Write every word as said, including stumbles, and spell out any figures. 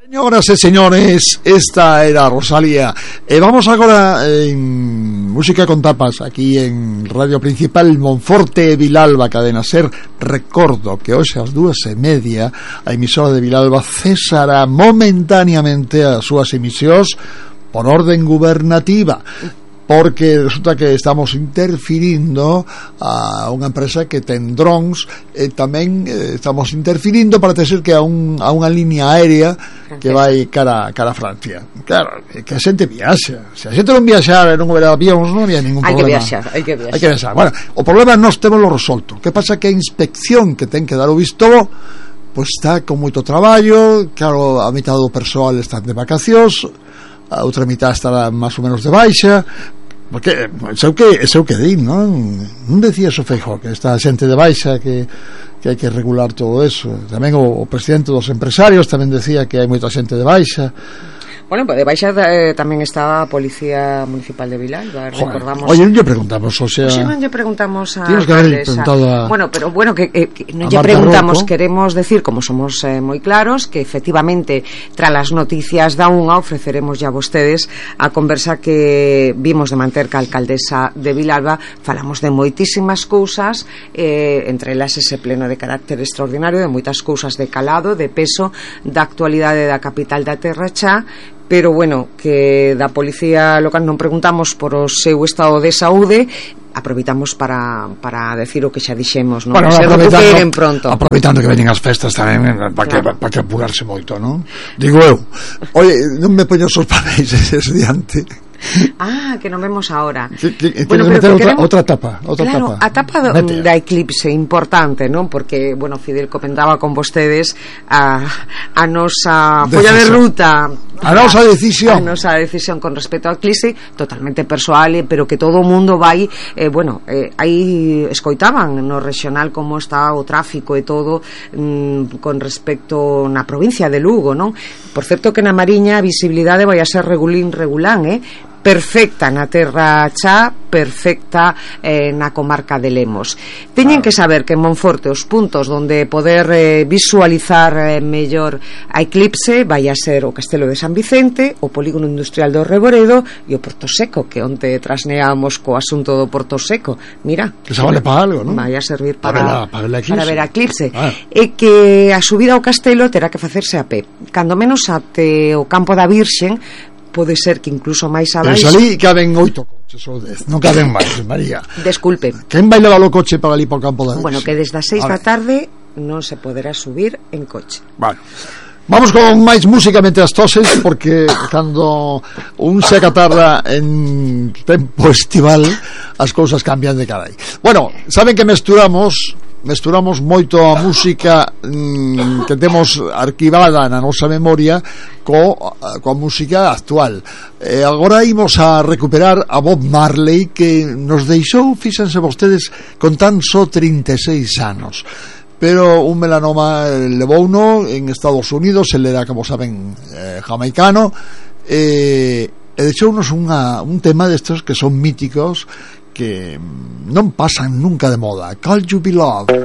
Señoras e señores, esta era Rosalía. E vamos agora en Música con Tapas, aquí en Radio Principal Monforte e Vilalba, Cadena Ser. Recordo que hoxe ás dúas e media a emisora de Vilalba cesará momentaneamente as súas emisións por orden gubernativa, porque resulta que estamos interfirindo a unha empresa que ten drones, e tamén eh, estamos interfirindo para ter que a, un, a unha línea aérea que vai cara, cara a Francia. Claro, que a xente viaxa. Se a xente non viaxara e non houbera avións, non había ningún hai problema. Que viaxar, hai que viaxar. Hai que viaxar. Bueno, o problema nós temos lo resolto. Que pasa que a inspección que ten que dar o visto pois está con moito traballo. Claro, a mitad do persoal están de vacacións, a outra mitad estará máis ou menos de baixa, porque sei que sei que din, non? Non decía o Feijóo que esta xente de baixa que que hai que regular todo eso. Tamén o, o presidente dos empresarios tamén decía que hai moita xente de baixa. Bueno, pues de baixa eh, tamén está a Policía Municipal de Vilalba. Recordamos. Oye, non lle preguntamos, o sea, Oxe, non lle preguntamos a tienes que haber preguntado a... Bueno, pero bueno, que, eh, que non lle preguntamos, Rocco. Queremos decir, como somos eh, moi claros, que efectivamente tras as noticias da unha ofreceremos ya a vostedes a conversa que vimos de manter ca alcaldesa de Vilalba. Falamos de moitísimas cousas, eh, entre elas ese pleno de carácter extraordinario, de moitas cousas de calado, de peso, da actualidade da capital da Terra Xa. Pero bueno, que da Policía Local non preguntamos por o seu estado de saúde. Aproveitamos para, para decir o que xa dixemos, non? Bueno, se recuperen pronto. Aproveitando que veñen as festas tamén, para que, claro. pa que apurarse moito, non? Digo eu, oye, non me poño os papéis ese diante. Ah, que non vemos ahora. Que, que, bueno, pero que outra, outra tapa, outra claro, tapa. a tapa do, da eclipse importante, non? Porque, bueno, Fidel comentaba con vostedes a, a nosa folla de ruta, a nosa decisión, a nosa decisión con respecto ao eclipse, totalmente persoal, pero que todo o mundo vai, eh, bueno, eh, aí escoitaban no regional como está o tráfico e todo mm, con respecto na provincia de Lugo, non? Por certo que na Mariña a visibilidade vai a ser regulín regulán, eh? Perfecta na Terra Xa, perfecta eh, na comarca de Lemos. Teñen que saber que en Monforte os puntos donde poder eh, visualizar eh, mellor a eclipse vai a ser o Castelo de San Vicente, o Polígono Industrial do Reboredo e o Porto Seco, que onte trasneamos co asunto do Porto Seco. Mira, que se vale para algo, non? Vai a servir para, para, para, ver, para ver a eclipse. Ah. E que a subida ao castelo terá que facerse a pé. Cando menos até o Campo da Virxen, pode ser que incluso máis abaixo. Pero salí caben oito coches ou dez, non caben máis, María. Desculpe. Quen vai levar o coche para ali para o Campo da Virxe? Bueno, que desde as seis da tarde non se poderá subir en coche. Bueno, vamos con máis música mentre as toses, porque cando un se acatarra en tempo estival as cousas cambian de carai. Bueno, saben que mesturamos mesturamos moito a música mmm, que temos arquivada na nosa memoria co, coa música actual. E agora imos a recuperar a Bob Marley, que nos deixou, fíxense vostedes, con tan só trinta e seis anos. Pero un melanoma levouno en Estados Unidos, ele era, como saben, eh, jamaicano, e, e deixounos unha, un tema destes que son míticos, que non pasan nunca de moda. Call You Be Love.